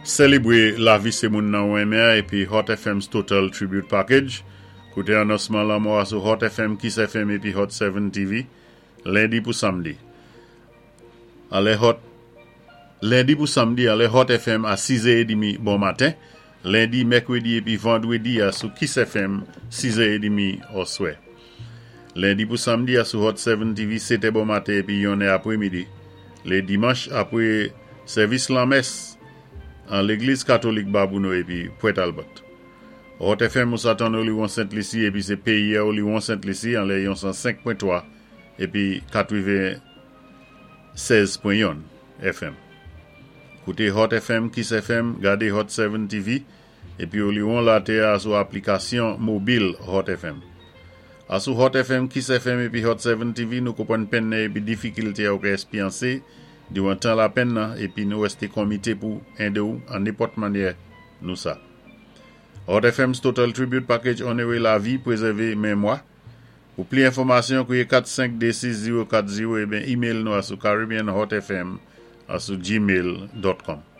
Sélébwé lavi sé moun nan ou renmen a épi Hot FM's Total Tribute Package. Kouté anonsman lanmò a sou Hot FM, Kiss FM épi Hot 7 TV, lendi pou samdi. Anlè Hot Lendi pou samdi anlè Hot FM a 6 è édmi bon maten, lendi, mèkwédi épi vandwédi a sou Kiss FM 6 è édmi oswè. Lendi pou samdi a sou Hot 7 TV 7 è bon maten épi 1 è apwémidi. Lé dimanch apwé sèvis lanmès an Légliz Katolik Babouno épi Pwent Albert. Hot FM ou sa tann Oliwon Sent Lisi épi sé péyi a Oliwon Sent Lisi anlè yon 105.3 épi 96.1 FM. Kouté Hot FM, Kiss FM, gadé Hot 7 TV épi Oliwon latè a sou aplikasyon mobil Hot FM. Asou Hot FM, Kiss FM épi Hot 7 TV nou konpwann penn nan épi difikilté a ou ka èspyansé diwan tan lapenn nan épi nou wèsté konmité pou édé ou an nenpòt mannyè nou sa. Hot FM's Total Tribute Package onoré lavi, pwézèvé menmwa. Pou pli enfòmasyon, kwiyé 4526040 ében email nou asou caribbeanhotfm@gmail.com.